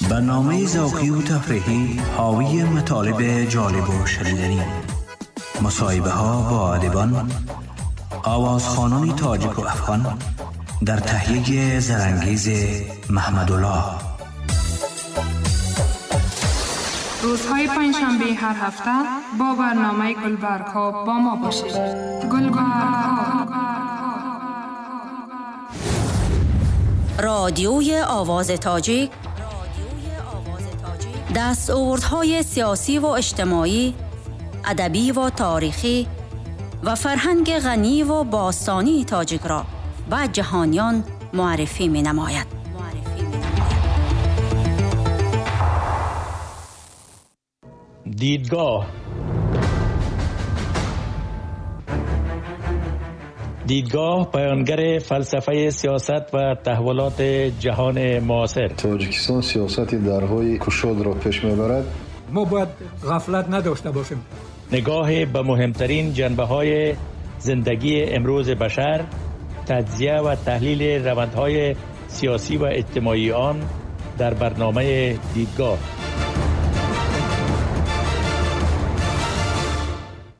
برنامه ذوقی و تفریحی حاوی مطالب جالب و شنیدنی، مصاحبه ها با ادیبان، آوازخوانان تاجیک و افغان در تهیه زرنگیز محمدالله. روزهای پنجشنبه هر هفته با برنامه گلبرگ ها با ما باشید. گلبرگ ها، رادیوی آواز تاجیک، دستاوردهای سیاسی و اجتماعی، ادبی و تاریخی و فرهنگ غنی و باستانی تاجیک را به جهانیان معرفی می نماید. دیدگاه، دیدگاه بیانگر فلسفه سیاست و تحولات جهان معاصر. تاجیکستان سیاست درهای کشاد را پیش میبرد. ما باید غفلت نداشته باشیم. نگاه به مهمترین جنبه های زندگی امروز بشر، تجزیه و تحلیل روندهای سیاسی و اجتماعی آن در برنامه دیدگاه.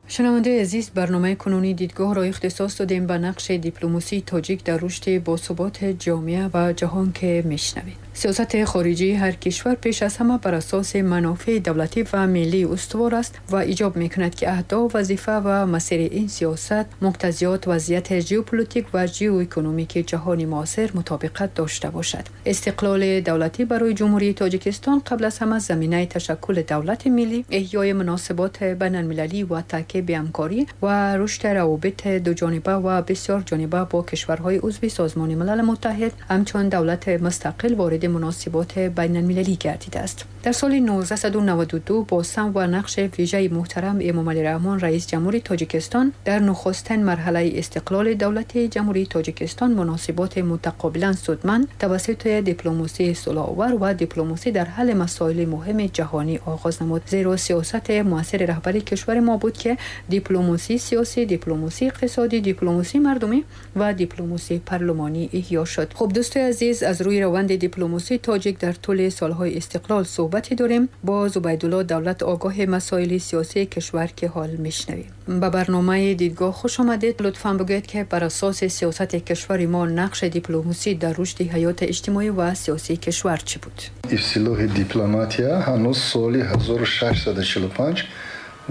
شنونده عزیز، برنامه کنونی دیدگاه را اختصاص دادیم به نقش دیپلماسی تاجیک در رشد باثبات جامعه و جهان که میشنوید. سیاست خارجی هر کشور پیش از همه بر اساس منافع دولتی و ملی استوار است و ایجاب میکند که اهداف، وظیفه و مسیر این سیاست مقتضیات وضعیت ژئوپلیتیک و ژئواکونومیک جهان معاصر مطابقت داشته باشد. استقلال دولتی برای جمهوری تاجیکستان قبل از همه زمینه تشکل دولت ملی، احیای مناسبات بین المللی و تعقیب همکاری و رشد روابط دو جانبه و بسیار جانبه با کشورهای عضو سازمان ملل متحد همچون دولت مستقل وارد مناسبات بین المللی گردیده است. در سال 1992 با سم و نقش ویژه محترم امامعلی رحمان رئیس جمهوری تاجیکستان در نخستین مرحله استقلال دولت جمهوری تاجیکستان مناسبات متقابلا سودمند توسط دیپلماسی صلح‌آور و دیپلماسی در حل مسائل مهم جهانی آغاز نمود. زیرا سیاست موثر رهبری کشور ما بود که دیپلماسی سیاسی، دیپلماسی اقتصادی، دیپلماسی مردمی و دیپلماسی پارلمانی احیا شد. خب دوستای عزیز، از روی روند دیپلماسی تاجیک در طول سالهای استقلال صحبتی داریم با زبیدالله دولت، آگاه مسائل سیاسی کشور که حال میشنویم. به برنامه دیدگاه خوش آمدید. لطفاً بگویید که بر اساس سیاست کشور ما نقش دیپلماسی در رشد حیات اجتماعی و سیاسی کشور چی بود؟ اصطلاح دیپلماتیا هنوز سال 1645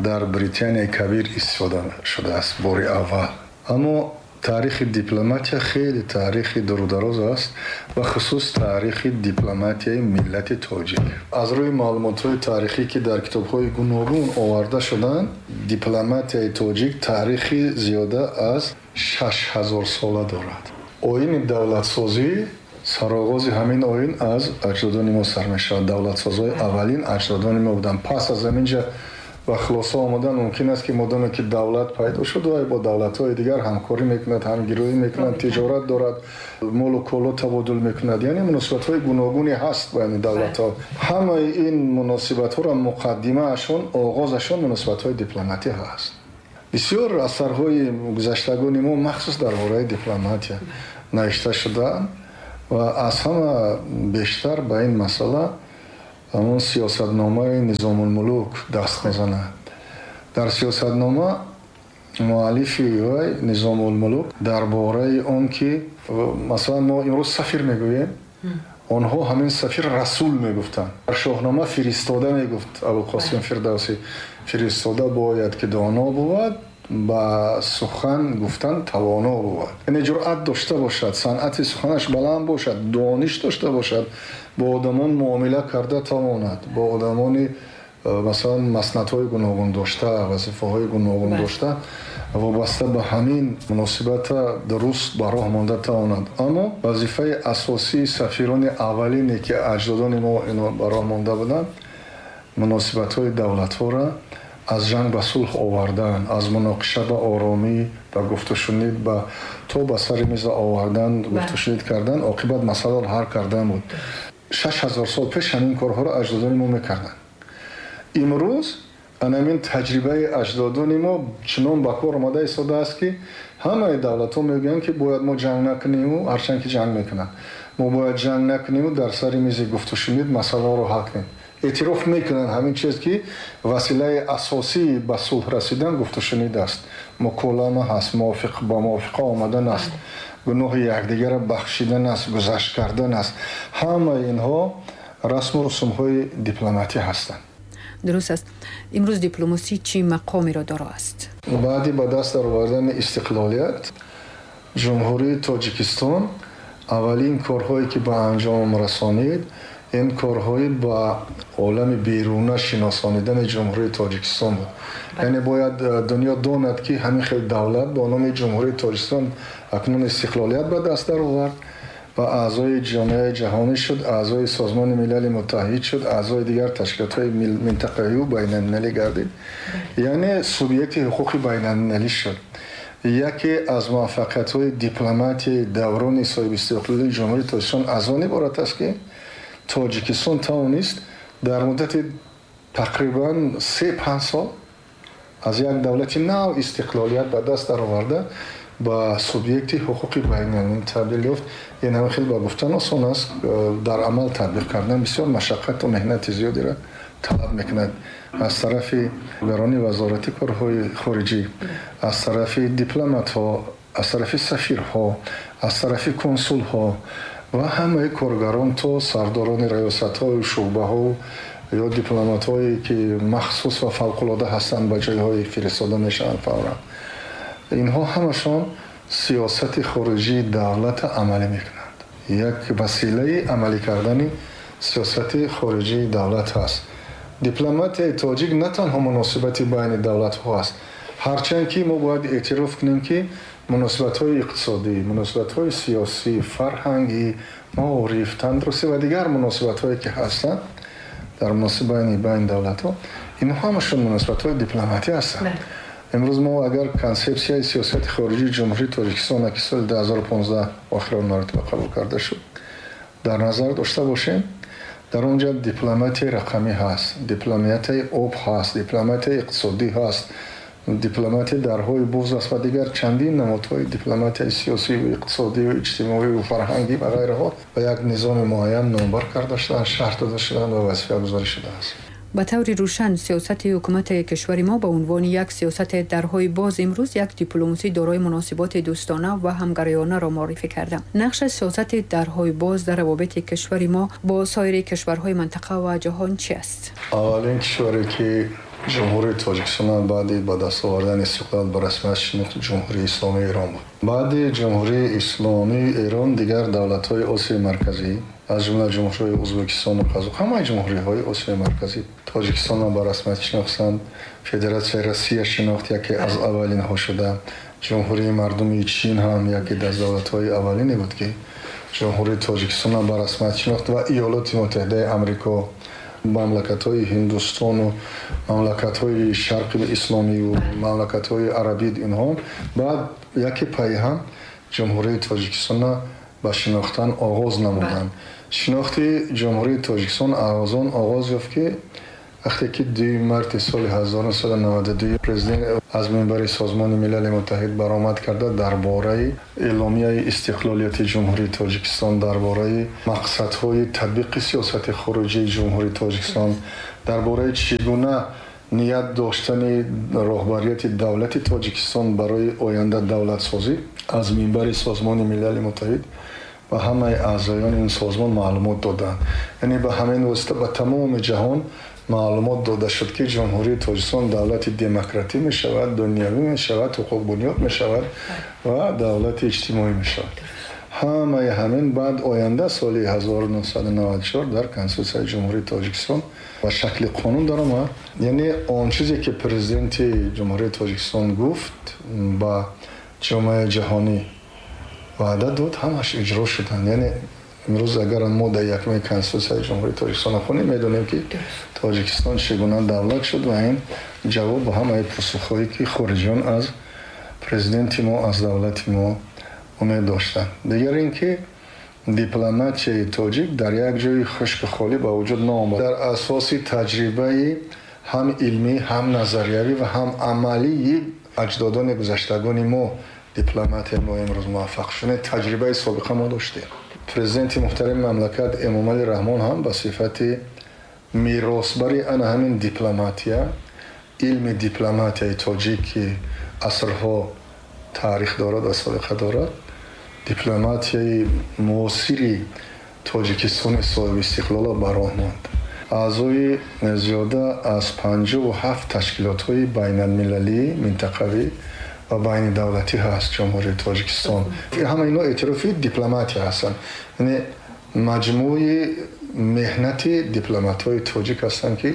در بریتانیای کبیر استفاده شده است بار اول. اما تاریخ دیپلماتیا خیلی تاریخ دور و دراز است و خصوص تاریخ دیپلماتیای ملت تاجیک. از روی معلومات‌های تاریخی که در کتاب‌های گوناگون آورده شدند، دیپلماتیای تاجیک تاریخ زیاده از 6000 ساله دارد. آیین دولت‌سازی، سرآغاز همین آیین از اجدادان ما سر می‌شود. دولت‌سازهای اولین اجدادان ما بودند. پس از همینجا و خلاصه آمدن ممکن است که مادامی که دولت پیدا شد و با دولت‌های دیگر همکاری میکند، همگرایی میکند، تجارت دارد، مال و کالا تبادل میکند، یعنی مناسبت‌های گوناگونی هست بین دولت‌ها. همه این مناسبت‌ها را مقدمه‌شون، آغازشون مناسبت‌های دیپلماتی هست. بسیار اثرهای گذشتگان ما مخصوص درباره دیپلماتی نوشته شدن و از همه بیشتر به این مسئله همون سیاستنامه نظام الملوک دست میزنه. در سیاستنامه مؤلف وی نظام الملوک درباره اون که مثلا ما امروز سفیر میگوییم، آنها همین سفیر رسول میگفتن. در شاهنامه فرستاده میگفت ابوالقاسم فردوسی، فرستاده باید که دانا بود، با سخن گفتن توانا بود، یعنی جرأت داشته باشد، صنعت سخنش بلند باشد، دانش داشته باشد، با آدمان معامله کرده تواند، با آدمان مثلا مسندهای گوناگون داشته، وظیفه‌های گوناگون داشته، وابسته به همین مناسبت درست به راه مانده تواند. اما وظیفه اساسی سفیران اولینی که اجدادان ما اینا به راه مانده بودند، مناسبت‌های دولت‌ها را از جنگ به صلح آوردن، از مناقشه به آرامی، به گفت و شنید، به تا به سر میز آوردن، گفت و شنید کردن، عاقبت مسئله را حل کردن بود. 6000 سال پیش همین کارها را اجدادان ما میکردن. امروز همین تجربه اجدادان ما چنان به کار آمده ایستاده است که همه دولت‌ها میگویند که باید ما جنگ نکنیم و هرچند که جنگ میکنن. Мо бояд ҷанг накунем ва дар сари мизи гуфтушунид масъаларо ҳал кунем. Эътироф мекунанд ҳамин чиз, ки василаи асосии ба сулҳ расидан гуфтушунид аст, муколама ҳаст, ба мувофиқа омадан аст, гуноҳи якдигарро бахшидан аст, гузашт кардан аст. Ҳамаи инҳо расму русумҳои дипломатӣ ҳастанд. Дуруст аст. Имрӯз дипломасӣ чӣ мақомеро доро аст? Баъди ба даст даровардани истиқлолият Ҷумҳурии Тоҷикистон аввалин корҳое ки ба анҷом расонид, ин корҳои ба олами беруна шиносонидани Ҷумҳурии Тоҷикистон буд. Яъне бояд дунё донад, ки ҳамин хел давлат бо номи Ҷумҳурии Тоҷикистон акнун истиқлолият ба даст даровард ва аъзои ҷомеаи ҷаҳонӣ шуд, аъзои Созмони Милали Муттаҳид шуд, аъзои дигар ташкилотҳои минтақавию байналмилалӣ гардид, яъне субъекти ҳуқуқи байналмилалӣ шуд. Яке аз муваффақиятҳои дипломатияи даврони соҳибистиқлолии Ҷумҳурии Тоҷикистон аз он иборат аст, ки Тоҷикистон тавонист дар муддати тақрибан 3-5 сол аз як давлати нав истиқлолият ба даст дароварда ба субъекти ҳуқуқи байналмилалӣ табдил ёфт. Ин ҳама хел ба гуфтан осон аст, дар амал татбиқ кардан бисёр машаққату меҳнати зиёдеро талаб мекунад аз тарафи гарони Вазорати корҳои хориҷӣ, аз тарафи дипломатҳо, аз тарафи сафирҳо, аз тарафи консулҳо ва ҳамаи коргарон то сардорони раёсатҳою шӯъбаҳо ё дипломатҳое, ки махсус ва фавқулода ҳастанд, ба ҷойҳое фиристода мешаванд фавран. Инҳо ҳамашон сиёсати хориҷии давлата амалӣ мекунанд. Як василаи амалӣ кардани сиёсати хориҷии давлат ҳаст. Дипломатияи тоҷик на танҳо муносибати байни давлатҳо аст, ҳарчанд ки мо бояд эътироф кунем, ки муносибатҳои иқтисодӣ, муносибатҳои сиёсӣ, фарҳангӣ, маориф, тандурустӣ ва дигар муносибатҳое, ки ҳастанд дар муносибати байни давлатҳо, инҳо ҳамашон муносибатҳои дипломатӣ ҳастанд. Имрӯз мо агар консепсияи сиёсати хориҷии Ҷумҳурии Тоҷикистон, ки соли 2015 охирон маротиба қабул карда шуд, дар назар дошта бошем, дар он ҷо дипломатияи рақамӣ ҳаст, дипломатияи об ҳаст, дипломатияи иқтисодӣ ҳаст, дипломатияи дарҳои боз аст ва дигар чандин намудҳои дипломатияи сиёсию иқтисодию иҷтимоию фарҳангӣ ва ғайраҳо ба як низоми муайян номбар карда шуданд, шарҳ дода шуданд ва вазифагузорӣ шудааст. Ба таври рӯшан, сиёсати ҳукумати кишвари мо ба унвони як сиёсати дарҳои боз имрӯз як дипломасӣ дорои муносиботи дӯстона ва ҳамгароёнаро муаррифӣ карда. Нақши сиёсати дарҳои боз дар равобити кишвари мо бо соири кишварҳои минтақа ва ҷаҳон чи аст? Аввалин кишваре, ки Ҷумҳурии Тоҷикистон баъди ба даст овардани истиқлол ба расмият шинохт, Ҷумҳурии Исломии Эрон буд. Баъди Ҷумҳурии Исломии Эрон дигар давлатҳои Осиёи Марказӣ, аз ҷумла ҷумҳуриҳои Ӯзбекистону Қазоқ, ҳамаи ҷумҳуриҳои Осиёи Марказӣ Тоҷикистонро ба расмият шинохтанд. Федератсияи Россия шинохт, яке аз аввалинҳо шуда. Ҷумҳурии Мардумии Чин ҳам яке аз давлатҳои аввалине буд, ки Ҷумҳурии Тоҷикистонро ба расмият шинохт, ва Иёлоти Муттаҳидаи Амрико, мамлакатҳои Ҳиндустону мамлакатҳои Шарқи Исломию мамлакатҳои арабӣ, инҳо баъд яке пайҳам Ҷумҳурии Тоҷикистонро ба шинохтан оғоз намуданд. Шинохти Ҷумҳурии Тоҷикистон аз он оғоз ёфт, ки вақте ки 2 марти соли 1992 президент аз минбари Созмони Милали Муттаҳид баромад карда, дар бораи эъломияи истиқлолияти Ҷумҳурии Тоҷикистон, дар бораи мақсадҳои татбиқи сиёсати хориҷии Ҷумҳурии Тоҷикистон, дар бораи чӣ гуна ният доштани роҳбарияти давлати Тоҷикистон барои оянда давлатсозӣ, аз минбари Созмони Милали Муттаҳид ба ҳамаи аъзоёни ин созмон маълумот доданд. Яъне ба ҳамин восита ба тамоми ҷаҳон маълумот дода шуд, ки Ҷумҳурии Тоҷикистон давлати демократӣ мешавад, дунявӣ мешавад, ҳуқуқбунёд мешавад ва давлати иҷтимоӣ мешавад. Ҳамаи ҳамин баъд оянда соли 1994 дар Конститутсияи Ҷумҳурии Тоҷикистон ба шакли қонун даромад. Яъне он чизе, ки президенти Ҷумҳурии Тоҷикистон гуфт, ба ҷомеаи ҷаҳонӣ ваъда дод, ҳамаш иҷро шуданд. Яъне имрӯз агар мо дар якуми Конститутсияи Ҷумҳурии Тоҷикистон хонем, медонем, ки Тоҷикистон чӣ гуна давлат шуд, ва ин ҷавоб ба ҳамаи посухҳое, ки хориҷиён аз президенти мо, аз давлати мо умед доштанд. Дигар ин ки дипломатияи тоҷик дар як ҷои хушку холӣ ба вуҷуд наомад. Дар асоси таҷрибаи ҳам илмӣ, ҳам назариявӣ ва ҳам амалии аҷдодони гузаштагони мо дипломатияи мо имрӯз муваффақ шуд. Таҷрибаи собиқа мо доштем. Президенти муҳтарами мамлакат Эмомалӣ Раҳмон ҳам ба сифати меросбари ана ҳамин дипломатия, илми дипломатияи тоҷик, ки асрҳо таърих дорад ва собиқа дорад, дипломатияи муосири Тоҷикистони соҳиби истиқлолро ба роҳ монд. Аъзои зиёда аз 57 ташкилотҳои байналмилалӣ, минтақавӣ ва байнидавлатӣ ҳаст Ҷумҳурии Тоҷикистон. Ҳама инҳо эътирофи дипломатия ҳастанд, яъне маҷмӯи меҳнати дипломатҳои тоҷик ҳастанд, ки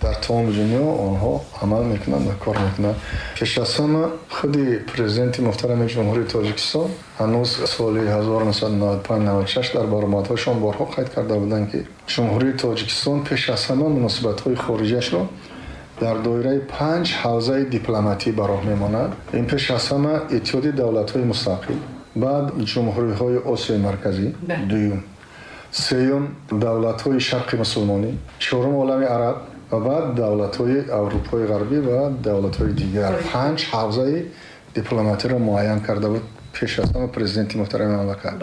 дар тамоми дунё онҳо амал мекунанд ва кор мекунанд. Пеш аз ҳама худи президенти муҳтарами Ҷумҳурии Тоҷикистон ҳанӯз соли 1995-96 дар баромадҳояшон борҳо қайд карда буданд, ки Ҷумҳурии Тоҷикистон пеш аз ҳама муносибатҳои хориҷиашро дар доираи 5 ҳавзаи дипломатӣ ба роҳ мемонад. Ин пеш аз ҳама Иттиҳоди давлатҳои мустақил, баъд ҷумҳуриҳои Осиёи Марказӣ, дуюм, сеюм давлатҳои Шарқи мусулмонӣ, чорум олами араб ва баъд давлатҳои Аврупои Ғарбӣ ва давлатҳои дигар. 5 ҳавзаи дипломатиро муайян карда буд пеш аз ҳама президенти муҳтарами мамлакат.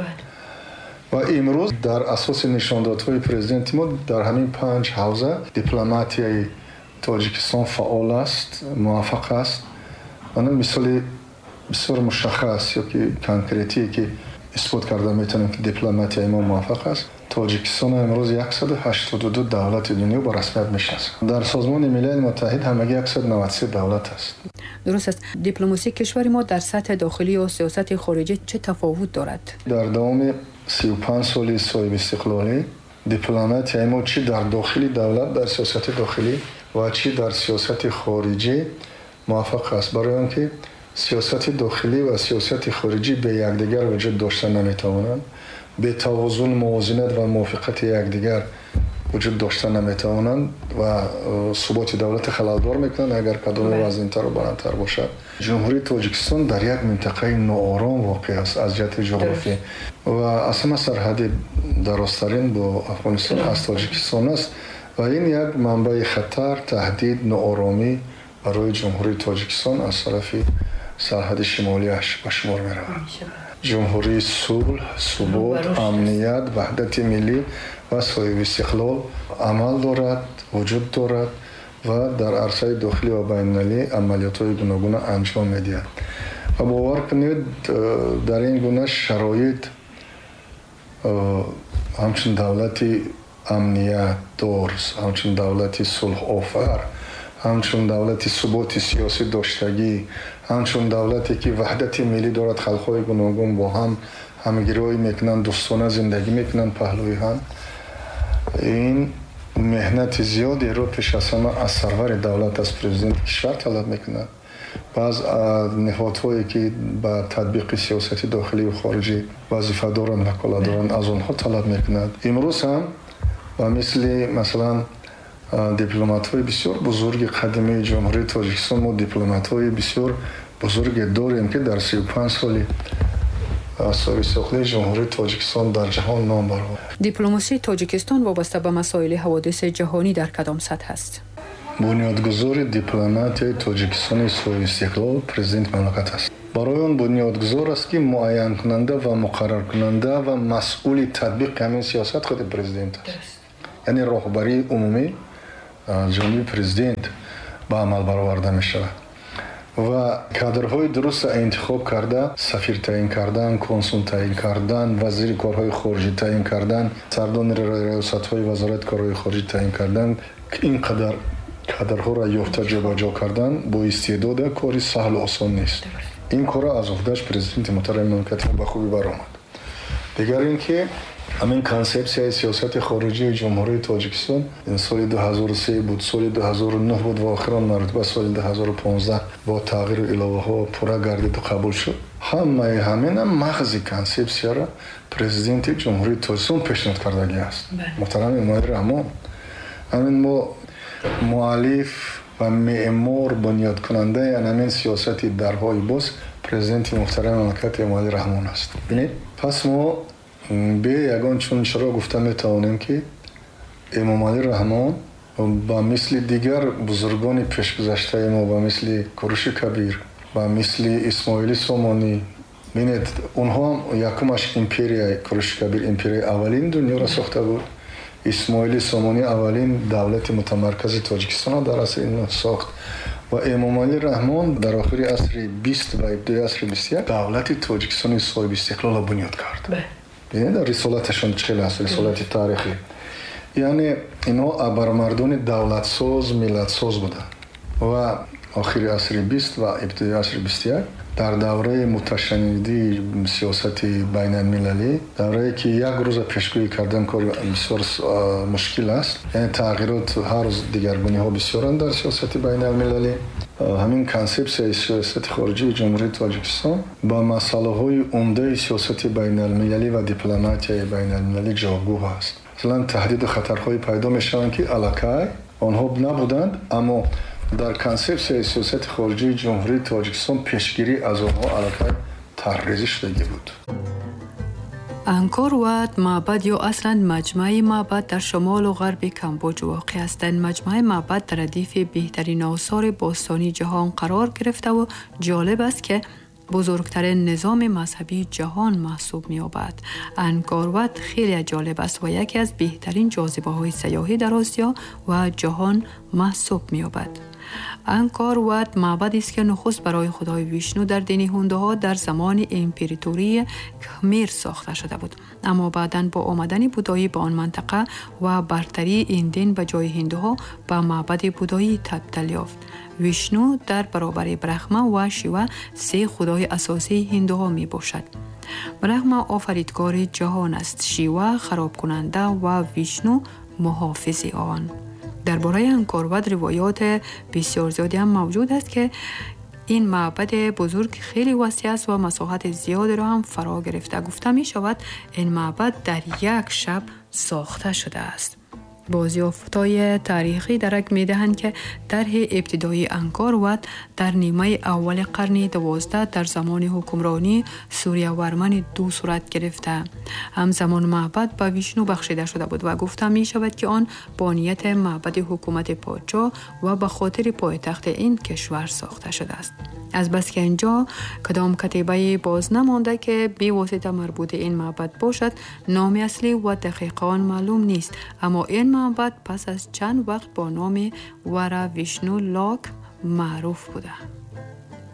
Ва имрӯз дар асоси нишондодҳои президенти мо дар ҳамин 5 ҳавза дипломатияи Тоҷикистон фаъол аст, муваффақ аст. Мана мисоли бисёр мушаххас ё ки конкретие, ки исбот карда метавонем, ки дипломатияи мо муваффақ аст. Тоҷикистон имрӯз 182 давлати дунё ба расмият мешинасад. Дар Созмони Милали Муттаҳид ҳамагӣ 193 давлат аст. Дуруст аст. Дипломасии кишвари мо дар сатҳи дохилӣ ё сиёсати хориҷӣ чӣ тафовут дорад? Дар давоми 35 соли соҳибистиқлолӣ дипломатияи мо чӣ дар дохили давлат, дар сиёсати дохилӣ ва чӣ дар сиёсати хориҷӣ муваффақ аст, барои он ки сиёсати дохилӣ ва сиёсати хориҷӣ бе якдигар вуҷуд дошта наметавонанд, бе тавозун, мувозинат ва мувофиқати якдигар вуҷуд дошта наметавонанд ва суботи давлати халалдор мекунанд, агар кадоме вазнинтару баландтар бошад. Ҷумҳурии Тоҷикистон дар як минтақаи ноором воқеъ аст аз ҷиҳати ҷуғрофӣ ва аз ҳама сарҳади дарозтарин бо Афғонистон аз Тоҷикистон аст ва ин як манбаи хатар, таҳдид, нооромӣ барои Ҷумҳурии Тоҷикистон аз тарафи сарҳади шимолиаш ба шумор меравад. Ҷумҳурии сулҳ, субот, амният, ваҳдати миллӣ ва соҳибистиқлол амал дорад, вуҷуд дорад ва дар арсаи дохилӣ ва байналмилалӣ амалиётҳои гуногуна анҷом медиҳад. Ва бовар кунед, дар ин гуна шароит ҳамчун давлати амниятдор, ҳамчун давлати сулҳофар, ҳамчун давлати суботи сиёсӣ доштагӣ, ҳамчун давлате ки ваҳдати миллӣ дорад, халқҳои гуногун бо ҳам ҳамгироӣ мекунанд, дӯстона зиндагӣ мекунанд паҳлӯи ҳам, ин меҳнати зиёдеро пеш аз ҳама аз сарвари давлат, аз президенти кишвар талаб мекунад. Баъз ниҳодҳое ки ба татбиқи сиёсати дохилию хориҷӣ вазифа доранд, ваколат доранд, аз онҳо талаб мекунад. Имрӯз ҳам ба мисли масалан дипломатҳои бисёр бузурги қадимии Ҷумҳурии Тоҷикистон мо дипломатҳои бисёр бузурге дорем, ки дар 35 соли соҳибистиқлолии Ҷумҳурии Тоҷикистон дар ҷаҳон ном баровард. Дипломасии Тоҷикистон вобаста ба масоили ҳаводиси ҷаҳонӣ дар кадом сатҳ аст? Бунёдгузори дипломатияи Тоҷикистони соҳибистиқлол президенти мамлакат аст. Барои он бунёдгузор аст, ки муайянкунанда ва муқарраркунанда ва масъули татбиқи ҳамин сиёсат худи президент аст. Яъне роҳбарии умумӣ аз ҷониби президент ба амал бароварда мешавад ва кадрҳои дурустро интихоб карда, сафир таъин кардан, консул таъин кардан, вазири корҳои хориҷӣ таъин кардан, сардони раёсатҳои вазорати корҳои хориҷӣ таъин кардан, ин қадар кадрҳоро ёфта ҷобаҷо кардан бо истеъдода кори саҳлу осон нест. Ин корро аз уҳдаш президенти муҳтарами мамлакати мо ба хубӣ баромад. Дигар ин ки ҳамин консепсияи сиёсати хориҷии Ҷумҳурии Тоҷикистон ин соли 2003 буд, соли 2009 буд ва охирон маротиба соли 2015 бо тағйиру иловаҳо пурра гардиду қабул шуд. Ҳамаи ҳамина мағзи консепсияро президенти Ҷумҳурии Тоҷикистон пешниҳод кардагӣ аст. Муҳтарам Эмомалӣ Раҳмон. Ҳамин мо муаллиф ва меъмор, бунёдкунандаи ҳамин сиёсати дарҳои боз президенти муҳтарами мамлакат Эмомалӣ Раҳмон аст. Бинед, пас мо бе ягон чун чаро гуфта метавонем, ки Эмомалӣ Раҳмон ба мисли дигар бузургони пешгузаштаи мо, ба мисли Куруши Кабир, ба мисли Исмоили Сомонӣ, Бинед, онҳо ҳам якумаш империяи Куруши Кабир империяи аввалин дунёро сохта буд. Исмоили Сомонӣ аввалин давлати мутамаркази Тоҷикистонро дар асри сохт ва Эмомалӣ Раҳмон дар охири асри 20 ва ибтидои асри 21 давлати Тоҷикистони соҳиби истиқлолро бунёд кард. Бинед, рисолаташон чӣ хел аст, рисолати таърихӣ. Яъне инҳо абармардони давлатсоз, миллатсоз буданд ва охири асри 20 ва ибтидои асри 21 дар давраи муташаннидии сиёсати байналмилалӣ, даврае ки як рӯза пешгӯӣ кардан кори бисёр мушкил аст, яъне тағйирот ҳар рӯз, дигаргуниҳо бисёранд дар сиёсати байналмилалӣ. Ҳамин консепсияи сиёсати хориҷии Ҷумҳурии Тоҷикистон ба масъалаҳои умдаи сиёсати байналмилалӣ ва дипломатияи байналмилалӣ ҷавобгӯ аст. Масалан, таҳдиду хатарҳое пайдо мешаванд, ки аллакай онҳо набуданд, аммо дар консепсияи сиёсати хориҷии Ҷумҳурии Тоҷикистон пешгирӣ аз онҳо аллакай тарҳрезӣ шудагӣ буд. Анкор Ват маъбад ё аслан маҷмӯаи маъбад дар шумолу ғарби Камбоҷ воқеъ аст. Дар маҷмӯаи маъбад дар радифи беҳтарин осори бостонии ҷаҳон қарор гирифтаву ҷолиб аст, ки бузургтарин низоми мазҳабии ҷаҳон маҳсуб меёбад. Анкор Ват хеле ҷолиб аст ва яке аз беҳтарин ҷозибаҳои сайёҳӣ дар Осиё ва ҷаҳон маҳсуб меёбад. Анкор Ват маъбадест, ки нухуст барои худои Вишну дар дини ҳундуҳо дар замони императории Кхмер сохта шуда буд. Аммо баъдан бо омадани будоӣ ба он минтақа ва бартарии ин дин ба ҷои ҳиндуҳо ба маъбади будоӣ табдил ёфт. Вишну дар баробари Брахма ва Шива се худои асосии ҳиндуҳо мебошад. Брахма офаридгори ҷаҳон аст, Шива харобкунанда ва Вишну муҳофизи он. Дар бораи Анкор Ват ривоёт бисёр зиёде ҳам мавҷуд аст, ки ин маъбади бузург хеле васеъ аст ва масоҳати зиёдеро ҳам фаро гирифта. Гуфта мешавад, ин маъбад дар як шаб сохта шудааст. Бозёфтҳои таърихӣ дарак медиҳанд, ки тарҳи ибтидоии Анкор Ват дар нимаи аввали қарни 12 дар замони ҳукмронии Сурьявармани ду сурат гирифта. Ҳамзамон маъбад ба Вишну бахшида шуда буд ва гуфта мешавад, ки он бо нияти маъбади ҳукумати подшоҳ ва ба хотири пойтахти ин кишвар сохта шудааст. Азбаски инҷо кадом катибае боз намонда, ки бевосита марбути ин маъбад бошад, номи аслӣ ва дақиқи он маълум нест, аммо ин маъбад пас аз чанд вақт бо номи Вара Вишну Лок маъруф буда.